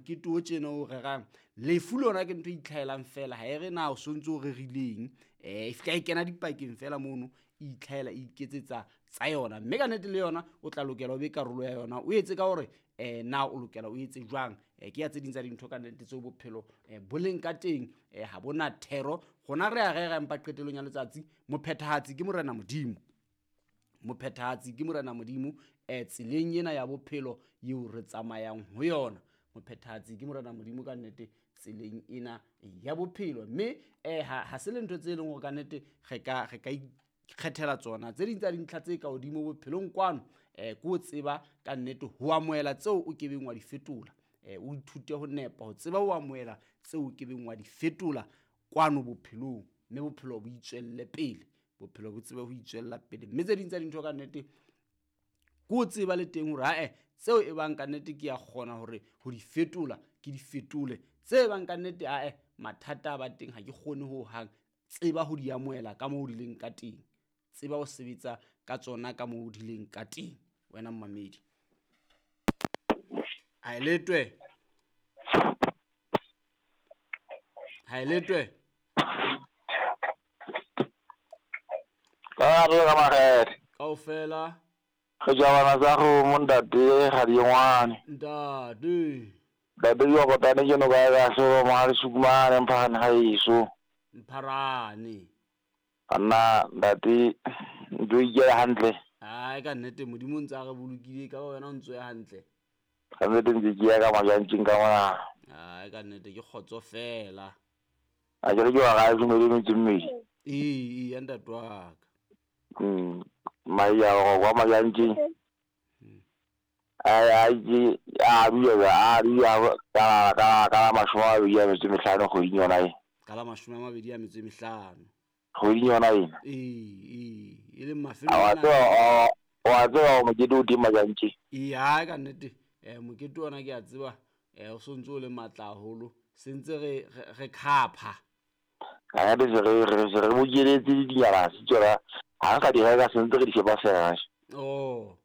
Mokete o tjena o rerang lefu lona ke ntho e itlhaelang fela, ha e re na o sontso o rerileng, e fihla e kena dipakeng fela mono, e itlhaela e iketsetsa tsa yona. Mme ka nnete le yona o tla lokela o be karolo ya yona, o etse ka hore na o lokela o etse jwang. Ke ya tse ding tsa dintho ka nnete tseo bophelo bo leng ka teng, ha bona thero. Rona re a rera, empa qetellong ya letsatsi mophethahatsi ke Morena Modimo. Mophethahatsi ke Morena Modimo, tseleng ena ya bophelo eo re tsamayang ho yona. Mophethahatsi ke Morena Modimo ka nnete tseleng ena ya bophelo. Mme ha se le ntho tse leng hore ka nnete re ka ikgethela tsona. Tse ding tsa dintlha tse ka hodimo bophelong kwano, ke ho tseba ka nnete ho amohela tseo o kebeng wa di fetola. O ithute ho nepa, ho tseba ho amohela tseo o kebeng wa di fetola kwano bophelong, mme bophelo bo itswelle pele. Bophelo bo tsebe ho itswella pele. Mme tse ding tsa dintho ka nnete ke ho tseba le teng hore ae tseo e bang ka nnete ke a kgona hore ho di fetola, ke di fetole. Tse bang ka nnete ae mathata a ba teng ha ke kgone ho hang, tseba ho di amohela ka moo di leng ka teng. Tseba ho sebetsa ka tsona ka moo di leng ka teng. Wena mmamedi. Ha e letwe. Ha e letwe. Ka re ka makgethe. Kaofela. Re jabana tsa kgomo ntate ga di ngwane. Ntate. Ntate yo kotane ke no ka ka so mo ha le sukumane mpharane ga eso. Mpharane. Anna ntate ntlo ikela hantle. Ai ka nnete Modimo ntse a re bolokile ka wena o ntso ya hantle. Ka nnete ntse ke ya ka majantjeng ka mona. Ai ka nnete ke kgotso fela. A ke re ke wa ga dumele metsi mmedi. Ee, ya ntate wa ka. Mai ya go kwa majantjeng. Ai ai ke a dula a dula ka 25 kgweding yona e. Ka la 25. Kgweding yona ena. Ee, e leng mafelo ana. Wa tseba mokete o teng majantjeng. Ee, ha ka nnete. Mokete ona ke a tseba, o sontso o le matla haholo. Se ntse re khapha. Ka nnete se re bokeletse dinyana se tsona. Ha nka di reka se ntse re di shepa fela. Oh.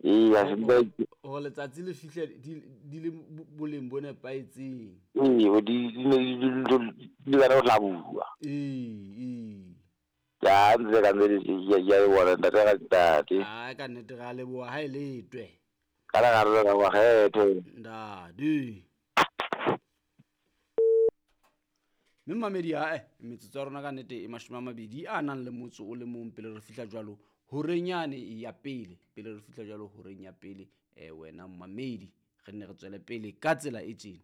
Ee, ha se ntse hore letsatsi le fihle di le boleng bo nepahetseng. Ee, di di le ho hlabua. Ee. Ya ntse ka nnete ya e bona ntate ka ntate. Ha ka nnete ra leboha ha e letwe. Ka la re ka makgethe. Ntate. Mme mmamedi ae metsotso ya rona ka nnete e 21 a nang le motso o le mong pele re fihla jwalo horeng yane ya pele, pele re fihla jwalo horeng ya pele, wena mmamedi re nne re tswele pele ka tsela e tjena.